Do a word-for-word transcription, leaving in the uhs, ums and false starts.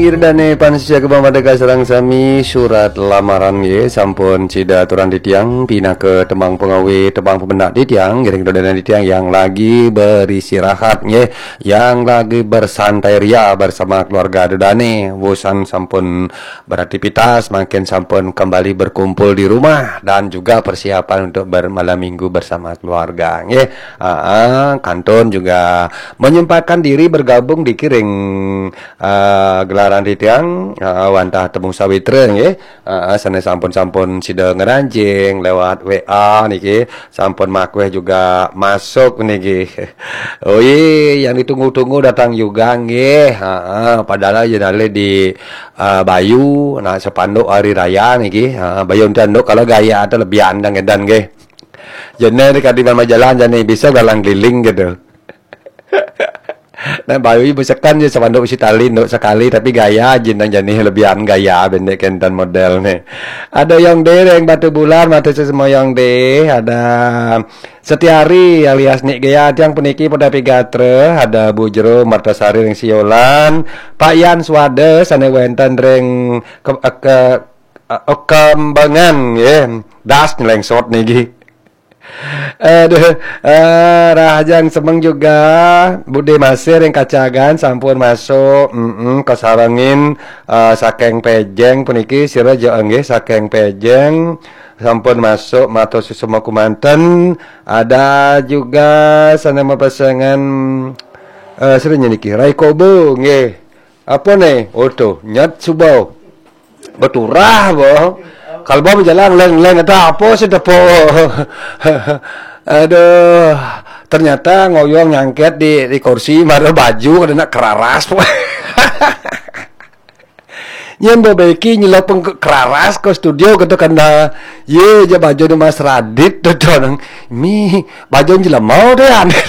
Ida dané pamiarsa Gema Merdeka sareng sami, surat lamaran nggih sampun sida aturang titiang pinaka tembang pangawit, tembang pamendak titiang, ngiring dodonan titiang yang lagi beristirahat nggih, yang lagi bersantai ria bersama keluarga ida dané, wusan sampun beraktivitas, mangkin sampun kembali berkumpul di rumah dan juga persiapan untuk bermalam minggu bersama keluarga nggih. Ah, kantun juga menyempatkan diri bergabung di kiring ah, gelaran titiang ah, wantah temu sawitra nggih. Ah, sané sampun-sampun sida ngranjing lewat W A niki, sampun makweh juga masuk niki. Oh iya, yang ditunggu-tunggu datang juga nggih. Ah, padahal yen alih di ah, Bayu nak spanduk hari raya niki. Ah, Bayu enten nduk kalau gaya ada lebih andang edan nggih. Jene di kadiman majalan jani bisa galang keliling gitu. Nah, Bayu besekan je spanduk si tali nduk sekali tapi gaya je nang jani lebihan gaya bendek kenten model nih. Ada Yong De ring Batu Bulan, matur suksma Yong De, ada Setiari alias Nik Gea tiang puniki pada pigatra, ada Bu Jero Martasari ring Siolan, Pak Yan Swada sane wenten ring ke, ke, Kembangan nggih. Das nyelengsot niki. Aduh, eh, Rahajeng semeng juga Bude Masir yang kacagan sampun masuk, mm kasarengin eh, saking Pejeng puniki sira ja nggih saking Pejeng sampun masuk matur suksma kumanten. Ada juga sana mapasengan eh sira niki Rai Kobo nggih. Apa nih? Oh tuh, nyat subau. Beturah boh. Kalau bawa jalan leng-leng ada apa sih depo? Aduh, ternyata ngoyong nyangket di, di kursi, mara baju kada nak keraras. Nyen bo beki nyelopeng ke keraras ke studio kata kanda ye je baju ni Mas Radit tu nang mi baju jelema deh aneh.